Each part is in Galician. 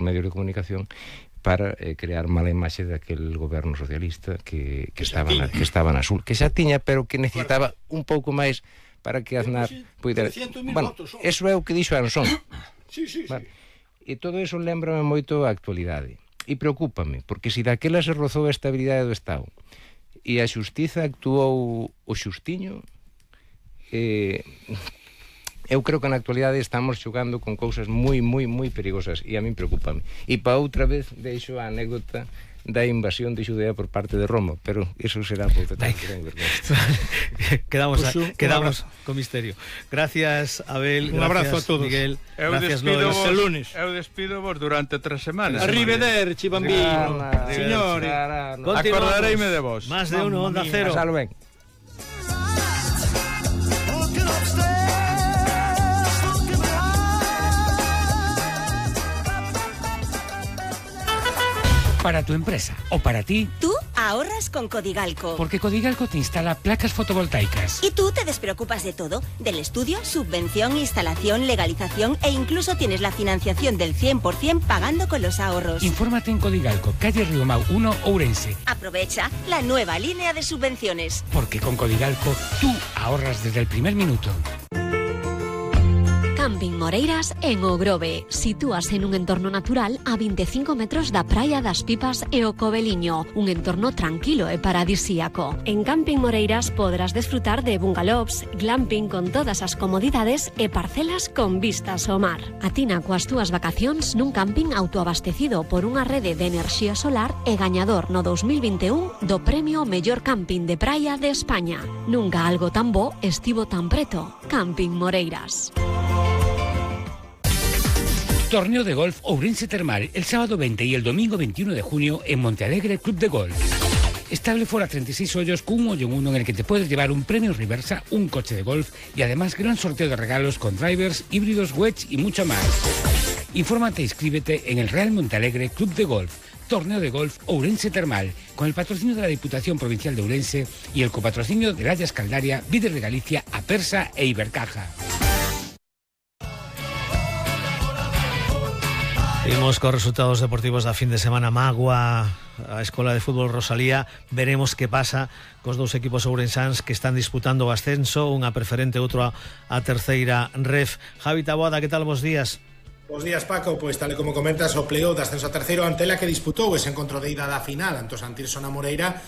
medios de comunicación para crear mala imaxe daquel goberno socialista que estaba na Sul, que xa tiña, pero que necesitaba un pouco máis para que Aznar puidera. Bueno, eso é o que dixo Ansón. Sí. Vale. E todo eso lembrame moito a actualidade. E preocúpame, porque se daquela se rozou a estabilidade do Estado e a xustiza actuou o xustiño, eu creo que na actualidade estamos xogando con cousas moi perigosas e a min preocúpame. E para outra vez deixo a anécdota da invasión de Xudea por parte de Roma, pero eso será por outra vez. Quedamos con misterio. Gracias, Abel. Un abrazo a todos. Miguel. Gracias, Lois. El lunes. Eu despido vos durante 3 semanas. Arrivederci, bambino. Signori, acordareime de vos. Más de uno, Onda Cero. Pasalo ben. Para tu empresa o para ti. Tú ahorras con Codigalco. Porque Codigalco te instala placas fotovoltaicas. Y tú te despreocupas de todo, del estudio, subvención, instalación, legalización e incluso tienes la financiación del 100% pagando con los ahorros. Infórmate en Codigalco, calle Riomau 1, Ourense. Aprovecha la nueva línea de subvenciones. Porque con Codigalco tú ahorras desde el primer minuto. Camping Moreiras en O Grove. Sitúase nun entorno natural a 25 metros da Praia das Pipas e o Coveliño, un entorno tranquilo e paradisíaco. En Camping Moreiras podrás desfrutar de bungalows, glamping con todas as comodidades e parcelas con vistas ao mar. Atina coas túas vacacións nun camping autoabastecido por unha rede de enerxía solar e gañador no 2021 do premio Mellor Camping de Praia de España. Nunca algo tan bo estivo tan preto. Camping Moreiras. Torneo de golf Ourense Termal el sábado 20 y el domingo 21 de junio en Montealegre Club de Golf. Estable fuera 36 hoyos con un hoyo en uno en el que te puedes llevar un premio reversa, un coche de golf y además gran sorteo de regalos con drivers, híbridos, wedge y mucho más. Infórmate e inscríbete en el Real Montealegre Club de Golf. Torneo de golf Ourense Termal, con el patrocinio de la Diputación Provincial de Ourense y el copatrocinio de Layas Caldaria, Víder de Galicia, Apersa e Ibercaja. Seguimos con resultados deportivos da fin de semana. Magua, a Escola de Fútbol Rosalía. Veremos que pasa cos dous equipos ourensáns que están disputando o ascenso, unha preferente, outro a terceira ref. Javi Taboada, que tal, bos días? Bos días, Paco. Pois tal e como comentas, o playoff de ascenso a terceiro ante la que disputou ese encontro de ida da final ante o Santirso na Moreira.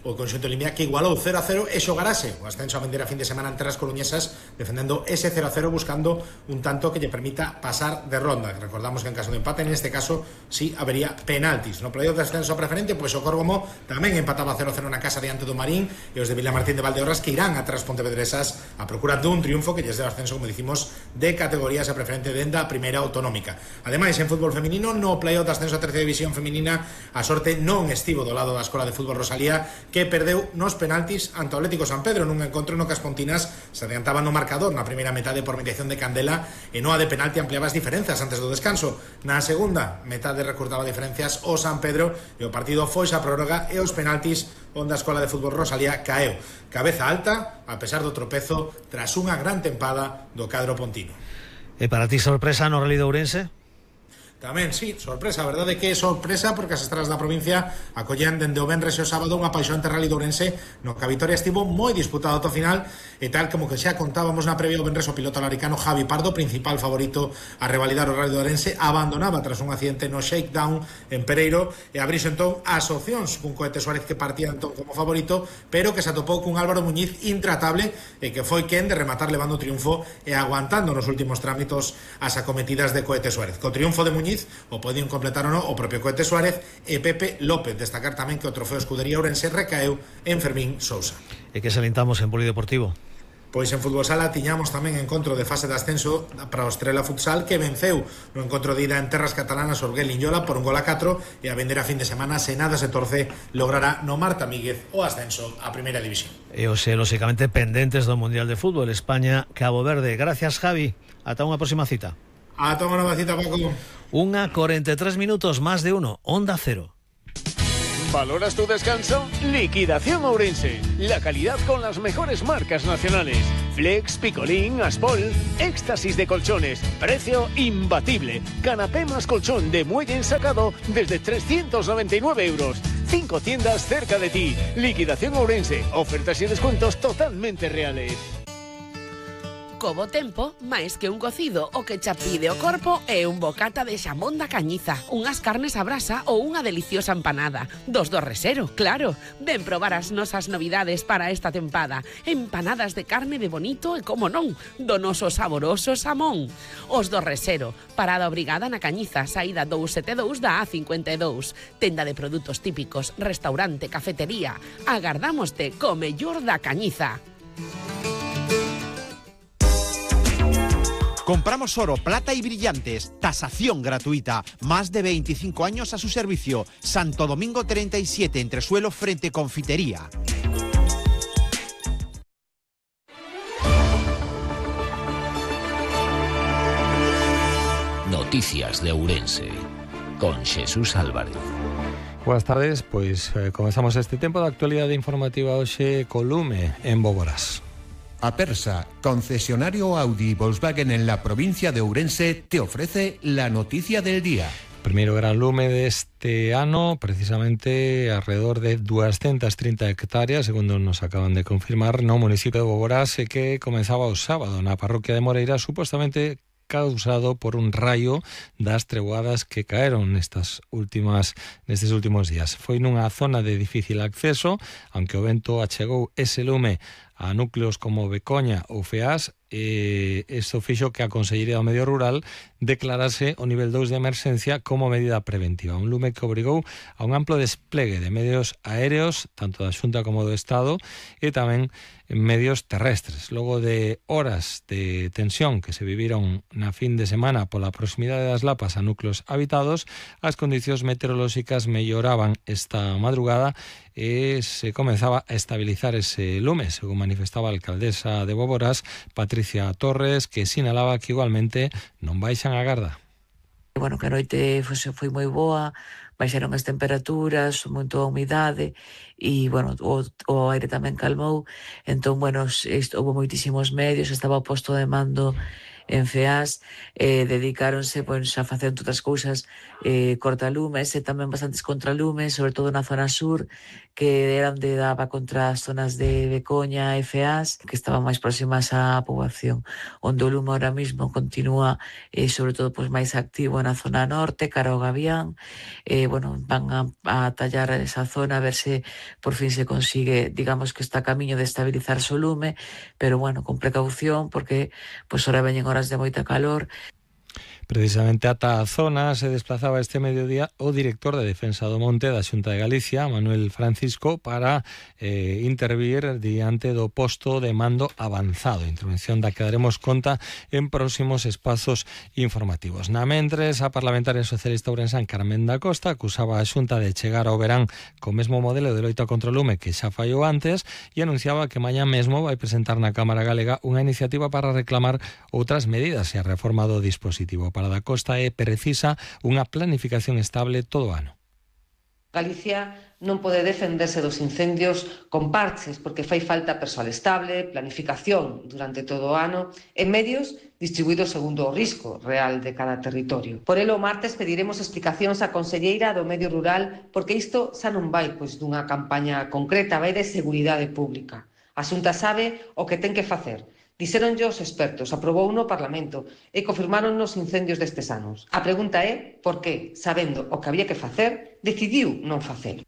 O conxunto limia que igualou 0-0 e xogarase o ascenso a vender a fin de semana ante as coruñesas, defendendo ese 0-0, buscando un tanto que lle permita pasar de ronda. Recordamos que en caso de empate, en este caso sí habería penaltis. No playoff de ascenso preferente, pois o Córgomo tamén empataba 0-0 na casa diante do Marín, e os de Vilamartín de Valdeorras que irán atrás Pontevedresas a procura dun triunfo que lles deu ascenso, como dicimos, de categorías a preferente denda a primeira autonómica. Ademais, en fútbol feminino, no playoff de ascenso a terceira división feminina, a sorte non estivo do lado da Escola de Fútbol Rosalía, que perdeu nos penaltis ante o Atlético San Pedro nun encontro no que as pontinas se adiantaban no marcador na primeira metade por mediación de Candela, e no a de penalti ampliaba as diferenzas antes do descanso. Na segunda metade recurtaba diferencias o San Pedro e o partido foi a prórroga e os penaltis onde a Escola de Fútbol Rosalía caeu cabeza alta a pesar do tropezo tras unha gran tempada do cadro pontino. E para ti, sorpresa no Rally de Ourense? Tamén, sí, sorpresa, a verdade que é sorpresa porque as estradas da provincia acollen dende o venres e o sábado unha apaixonante Rally de Ourense no que a vitoria estivo moi disputada ata o final, e tal como que xa contábamos na previa, o venres o piloto laricano Javi Pardo, principal favorito a revalidar o Rally de Ourense, abandonaba tras un accidente no shakedown en Pereiro e abrise entón as opcións cun Cohete Suárez que partía entón como favorito, pero que se atopou cun Álvaro Muñiz intratable e que foi quen de rematar levando o triunfo e aguantando nos últimos trámites as acometidas de Cohete Suárez. Co triunfo de Muñiz o podían completar ou non o propio Cohete Suárez e Pepe López. Destacar tamén que o trofeo Escudería Ourense recaeu en Fermín Sousa. E que salientamos en Polideportivo? Pois en fútbol sala tiñamos tamén encontro de fase de ascenso para o Estrela Futsal, que venceu no encontro de ida en terras catalanas o Orguel Liñola por 1-4, e a vender a fin de semana, se nada se torce, logrará no Marta Míguez o ascenso a primeira división. E hoxe, lóxicamente, pendentes do Mundial de Fútbol España-Cabo Verde. Gracias, Javi. Ata unha próxima cita. Ata unha nova cita, Paco. 1:43 minutos, más de uno, Onda Cero. ¿Valoras tu descanso? Liquidación Ourense. La calidad con las mejores marcas nacionales. Flex, Picolín, Aspol, éxtasis de colchones, precio imbatible. Canapé más colchón de muelle ensacado desde 399 euros. 5 tiendas cerca de ti. Liquidación Ourense. Ofertas y descuentos totalmente reales. Co bo tempo, máis que un cocido, o que xa pide o corpo é un bocata de xamón da Cañiza, unhas carnes a brasa ou unha deliciosa empanada. Dos do Resero, claro. Ven probar as nosas novidades para esta tempada. Empanadas de carne de bonito e, como non, do noso saboroso xamón. Os do Resero, parada obrigada na Cañiza, saída 272 da A52. Tenda de produtos típicos, restaurante, cafetería. Agardámoste co mellor da Cañiza. Compramos oro, plata y brillantes. Tasación gratuita. Más de 25 años a su servicio. Santo Domingo 37, entresuelo frente Confitería. Noticias de Ourense, con Jesús Álvarez. Buenas tardes, pois comenzamos este tempo de actualidade informativa hoxe co lume en Boborás. Apersa, concesionario Audi y Volkswagen en la provincia de Ourense, te ofrece la noticia del día. Primeiro gran lume deste ano, precisamente alrededor de 230 hectáreas, segundo nos acaban de confirmar, no municipio de Boborás, que comenzaba o sábado na parroquia de Moreira, supostamente causado por un raio das treboadas que caeron nestes últimos días. Foi nunha zona de difícil acceso, aunque o vento achegou ese lume a núcleos como Becoña ou Feás, isto fixo que a Consellería do Medio Rural declarase o nivel 2 de emerxencia como medida preventiva. Un lume que obrigou a un amplo desplegue de medios aéreos, tanto da Xunta como do Estado, e tamén medios terrestres. Logo de horas de tensión que se viviron na fin de semana pola proximidade das lapas a núcleos habitados, as condicións meteorolóxicas melloraban esta madrugada e se comenzaba a estabilizar ese lume, según manifestaba a alcaldesa de Boborás, Patricia Torres, que sinalaba que igualmente non baixan a garda. Bueno, que a noite foi moi boa, baixaron as temperaturas, moito a humidade e, bueno, o aire tamén calmou. Entón, bueno, houve moitísimos medios, estaba o posto de mando en Feás, dedicáronse pois, a facer outras cousas, cortalumes e tamén bastantes contralumes, sobre todo na zona sur, que era onde daba contra as zonas de Becoña e Feás, que estaban máis próximas á poboación. Onde o lume ahora mismo continúa, sobre todo pois, máis activo na zona norte, cara ao Gavián. Bueno, van a tallar esa zona a ver se por fin se consigue, digamos que está a camiño de estabilizarse o lume, pero bueno, con precaución, porque pois ahora veñen horas de moita calor. Precisamente ata a zona se desplazaba este mediodía o director de Defensa do Monte da Xunta de Galicia, Manuel Francisco, para intervir diante do posto de mando avanzado, intervención da que daremos conta en próximos espazos informativos. Na mentres, a parlamentaria socialista ourensán Carmen da Costa acusaba a Xunta de chegar ao verán co mesmo modelo de loita contra o lume que xa fallou antes e anunciaba que mañá mesmo vai presentar na Cámara Galega unha iniciativa para reclamar outras medidas e a reforma do dispositivo. Para da Costa é precisa unha planificación estable todo o ano. Galicia non pode defenderse dos incendios con parches porque fai falta persoal estable, planificación durante todo o ano e medios distribuídos segundo o risco real de cada territorio. Por elo, o martes pediremos explicacións á Conselleira do Medio Rural porque isto xa non vai dunha campaña concreta, vai de seguridade pública. A Xunta sabe o que ten que facer. Dixéronlle os expertos, aprobou no Parlamento e confirmaron nos incendios destes anos. A pregunta é por que, sabendo o que había que facer, decidiu non facelo.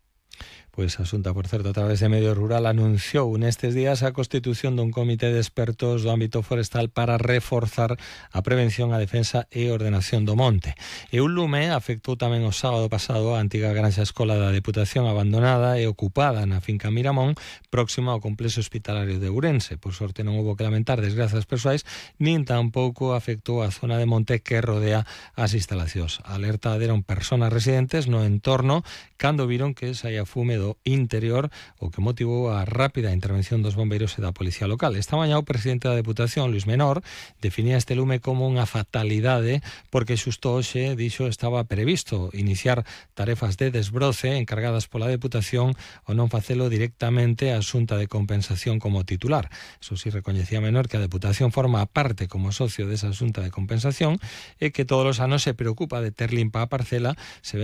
Pois a Xunta, por certo, a través de Medio Rural anunciou nestes días a constitución dun comité de expertos do ámbito forestal para reforzar a prevención, a defensa e ordenación do monte. E un lume afectou tamén o sábado pasado a antiga granxa escola da Deputación abandonada e ocupada na finca Miramón, próxima ao complexo hospitalario de Ourense. Por sorte non houbo que lamentar desgrazas persoais, nin tampouco afectou a zona de monte que rodea as instalacións. A alerta deron persoas residentes no entorno cando viron que saía fume do interior, o que motivou a rápida intervención dos bombeiros e da policía local. Esta mañá o presidente da Deputación, Luis Menor, definía este lume como unha fatalidade porque xusto hoxe, dixo, estaba previsto iniciar tarefas de desbroce encargadas pola Deputación ou non facelo directamente a Xunta de Compensación como titular. Eso sí, recoñecía Menor que a Deputación forma parte como socio desa Xunta de Compensación e que todos os anos se preocupa de ter limpa a parcela se ven